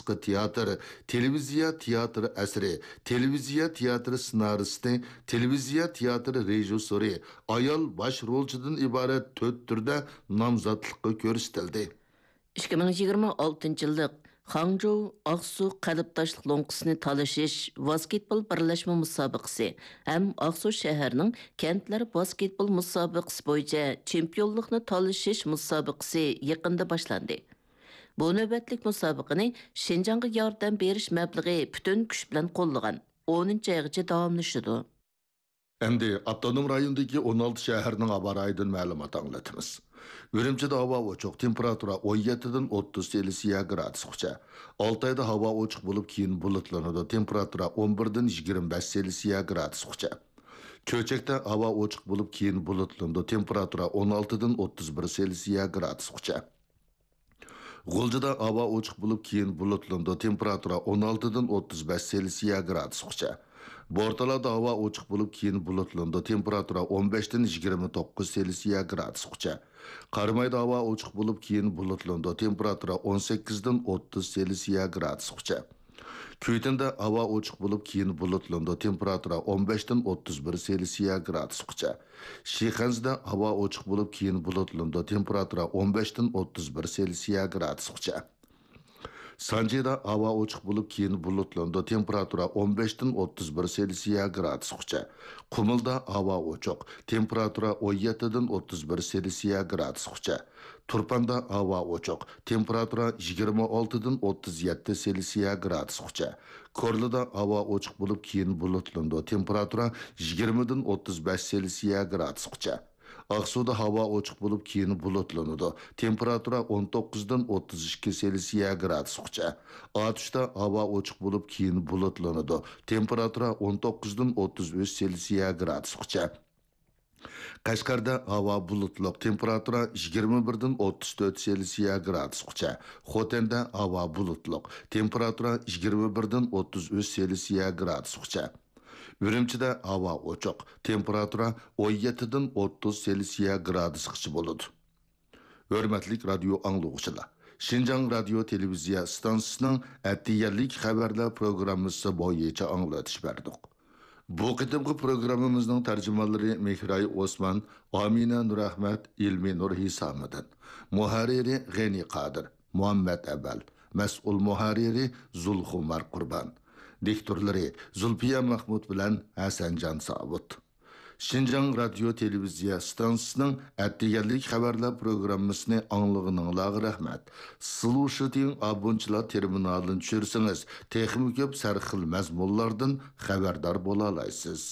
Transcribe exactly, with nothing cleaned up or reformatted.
ئارتىسلىقى تىياتىر، تېلېۋىزىيە تىياتىر ئەسىرى، تېلېۋىزىيە تىياتىر سېنارىستى، تېلېۋىزىيە تىياتىر رېژىسسورى، ئايال باش رولچىدىن ئىبارەت تۆت تۈردە نامزاتلىققا كۆرسىتىلدى. ئىككى مىڭ يىگىرمە ئالتىنچى يىللىق خاڭجۇ ئاقسۇ قەلبداشلىق لوڭقىسىنى تالىشىش ۋاسكېتبول بىرلەشمە مۇسابىقىسى ھەم ئاقسۇ شەھەرنىڭ كەنتلەر ۋاسكېتبول مۇسابىقىسى بويىچە چېمپىيونلۇقنى تالىشىش مۇسابىقىسى يېقىندا باشلاندى. بۇ نۆۋەتلىك مۇسابىقىنى شىنجاڭغا ياردەم بېرىش مەبلىغى پۈتۈن كۈچ بىلەن قوللىغان ئونىنچى ئايغىچە داۋاملىشىدۇ. ئەمدى ئاپتونوم رايوندىكى ئون ئالتە شەھەرنىڭ ھاۋا رايىدىن مەلۇمات ئاڭلىتىمىز. ئۈرۈمچىدە ھاۋا ئوچۇق، تېمپېراتۇرا ئون يەتتىدىن ئوتتۇز سېلسىيە گرادۇسقىچە. ئالتايدا ھاۋا ئوچۇق بولۇپ، كېيىن بۇلۇتلىنىدۇ، تېمپېراتۇرا ئون بىردىن يىگىرمە بەش سېلسىيە گرادۇسقىچە. چۆچەكتە ھاۋا ئوچۇق بولۇپ، كېيىن بۇلۇتلىنىدۇ، تېمپېراتۇرا ئون ئالتىدىن ئوتتۇز بىر سېلسىيە گرادۇسقىچە. غۇلجىدا ھاۋا ئوچۇق بولۇپ، كېيىن بۇلۇتلىنىدۇ، تېمپېراتۇرا ئون ئالتىدىن ئوتتۇز بەش سېلسىيە گرادۇسقىچە. بورتالادا ھاۋا ئوچۇق بولۇپ، كېيىن بۇلۇتلىنىدۇ، تېمپېراتۇرا ئون بەشتىن يىگىرمە توققۇز سېلسىيە گرادۇسقىچە. قارامايدا ھاۋا ئوچۇق بولۇپ، كېيىن بۇلۇتلىنىدۇ، تېمپېراتۇرا ئون سەككىزدىن ئوتتۇز سېلسىيە گرادۇسقىچە. كۈيتىندە ھاۋا ئوچۇق بولۇپ، كېيىن بۇلۇتلىنىدۇ، تېمپېراتۇرا ئون بەشتىن ئوتتۇز بىر سېلسىيە گرادۇسقىچە. شىخەنزىدە ھاۋا ئوچۇق بولۇپ، كېيىن بۇلۇتلىنىدۇ، تېمپېراتۇرا ئون بەشتىن ئوتتۇز بىر سېلسىيە گرادۇسقىچە. سانجىدا ھاۋا ئوچۇق بولۇپ، كېيىن بۇلۇتلىنىدۇ، تېمپېراتۇرا ئون بەشتىن ئوتتۇز بىر سېلسىيە گرادۇسقىچە. قۇمۇلدا ھاۋا ئوچۇق، تېمپېراتۇرا ئون يەتتىدىن ئوتتۇز بىر سېلسىيە گرادۇسقىچە. تۇرپاندا ھاۋا ئوچۇق، تېمپېراتۇرا يىگىرمە ئالتىدىن ئوتتۇز يەتتە سېلسىيە گرادۇسقىچە. كورلىدا ھاۋا ئوچۇق بولۇپ، كېيىن بۇلۇتلىنىدۇ، تېمپېراتۇرا يىگىرمىدىن ئوتتۇز بەش سېلسىيە گرادۇسقىچە. ئاقسۇدا ھاۋا ئوچۇق بولۇپ، كېيىن بۇلۇتلىنىدۇ، تېمپېراتۇرا ئون توققۇزدىن ئوتتۇز ئىككى سېلسىيە گرادۇسقىچە. ئاتۇشتا ھاۋا ئوچۇق بولۇپ، كېيىن بۇلۇتلىنىدۇ، تېمپېراتۇرا ئون توققۇزدىن ئوتتۇز ئۈچ سېلسىيە گرادۇسقىچە. قەشقەردە ھاۋا بۇلۇتلۇق، تېمپېراتۇرا يىگىرمە بىردىن ئوتتۇز تۆت سېلسىيە گرادۇسقىچە. خوتەندە ھاۋا بۇلۇتلۇق، تېمپېراتۇرا يىگىرمە بىردىن ئوتتۇز ئۈچ سېلسىيە گرادۇسقىچە. ئۈرۈمچىدە ھاۋا ئوچۇق، تېمپېراتۇرا ئون يەتتىدىن ئوتتۇز سېلسىيە گرادۇسقىچە بولىدۇ. ھۆرمەتلىك رادىيو ئاڭلىغۇچىلار! شىنجاڭ رادىيو تېلېۋىزىيە ئىستانسىسىنىڭ ئەتىگەنلىك خەۋەرلەر پروگراممىسى بويىچە ئاڭلىتىش بەردۇق. بۇ قېتىمقى پروگراممىمىزنىڭ تەرجىمانلىرى مېھراي ئوسمان، ئامىنە نۇرئەخمەت، ئىلمى نۇر ھېسامىدىن، مۇھەررىرى غېنى قادىر، مۇھەممەت ئەۋەل، مەسئۇل مۇھەررىرى زۇلخۇمار قۇربان، دىكتورلىرى زۇلپىيە مەخمۇت بىلەن ھەسەنجان ساۋۇت. شىنجاڭ رادىيو تېلېۋىزىيە ئىستانسىسىنىڭ ئەتىگەنلىك خەۋەرلەر پروگراممىسىنى ئاڭلىغىنىڭلارغا رەھمەت. سلۇشىتىڭ ئابونچىلار تېرمىنالىنى چۈشۈرسىڭىز، تېخىمۇ كۆپ سەرخىل مەزمۇنلاردىن خەۋەردار بولالايسىز.